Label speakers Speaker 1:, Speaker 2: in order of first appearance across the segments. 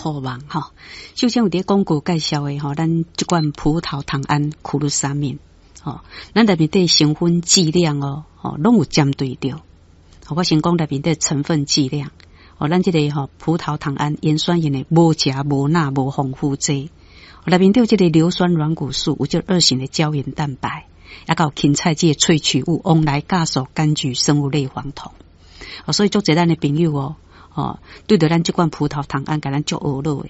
Speaker 1: 酷網吼。首先有佇廣告介紹的吼，咱這罐葡萄糖胺苦魯沙麵吼，咱內面底成分劑量哦，吼，攏有針對著。我先講內面底成分劑量，哦，咱這個吼葡萄糖胺鹽酸鹽的無鉀無鈉無防腐劑，內面底有這個硫酸軟骨素，有這二型的膠原蛋白，抑閣有芹菜這個萃取物，黃來酵素、柑橘生物類黃酮。哦，所以足濟咱的朋友哦，哦，對著咱這罐葡萄糖胺，共咱足懊惱的，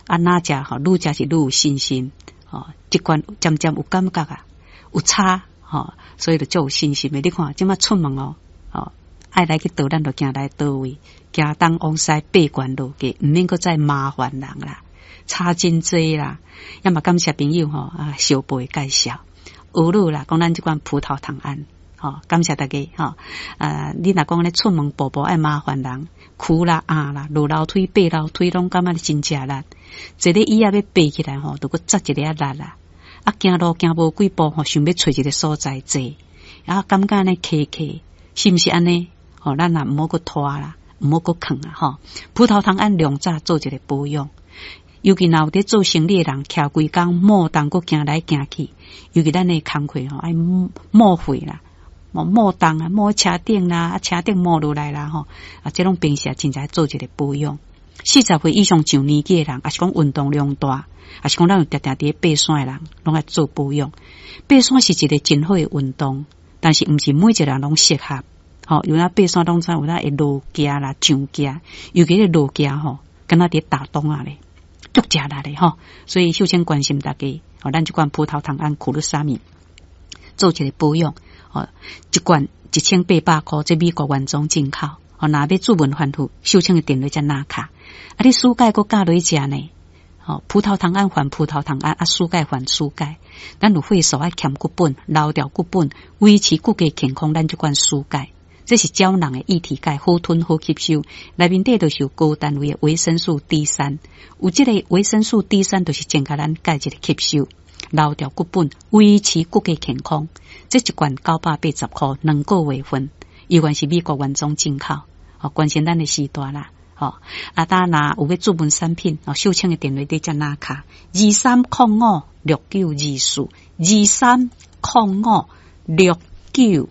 Speaker 1: 啊，若食吼，愈食是愈有信心，哦，這罐漸漸有感覺啊，有差，吼，所以就足有信心的。你看，這馬出門哦，哦，愛來去佗，咱就行來佗位，行東往西爬懸落低，毋免閣再麻煩人啦，差真濟啦。也嘛感謝朋友吼啊，小貝介紹，懊惱啦，講咱這罐葡萄糖胺。吼，感謝大家吼！啊，你若講咧出門步步愛麻煩人，跍啦、壓啦、落樓梯、爬樓梯，攏感覺真食力。坐咧椅仔欲爬起來吼，就閣紮一个仔力啦。啊，行路行無幾步吼，想欲揣一个所在坐，啊，感覺按呢卡卡，是毋是按呢？吼，咱也毋好閣拖啦，毋好閣囥啊！吼，葡萄糖胺量早做一个保養。尤其若有佇做生理的人，徛規工摩動閣行來行去，尤其咱的工課吼愛摩血啦。摩動啊，摩車頂啦，啊車頂摩落來啦，吼啊，這攏平時真正做一個保養。40歲以上上年紀的人，抑是講運動量大，抑是講咱有定定佇咧爬山的人，攏愛做保養。爬山是一個真好的運動，但是毋是每一個人攏適合。吼，有影爬山攏知有影會落崎啦、上崎，尤其咧落崎吼，敢若佇打樁仔咧，足食力咧吼。所以首先關心大家，吼，咱這罐葡萄糖胺苦魯沙米做一個保養。哦，一罐1800箍，這美國原裝進口。哦，若欲注文反覆，秀清的電話才拿卡。啊，你舒鈣閣加落去食呢？哦，葡萄糖胺還葡萄糖胺，啊，舒鈣還舒鈣。咱有血素愛添骨本，留掉骨本，維持骨骼健康。咱這罐舒鈣，這是膠囊的液體鈣，好吞好吸收。內面底都是有高單位的維生素 D 3，有這個維生素 D 三，就是增加咱鈣質的吸收。留掉骨本，維持骨骼健康。這一罐980箍，兩個月份，猶原是美國原裝進口。哦，關心咱的時代啦。吼，啊，當若有欲注文產品，哦，秀清的電話佇遮拿卡，23056924，23056924。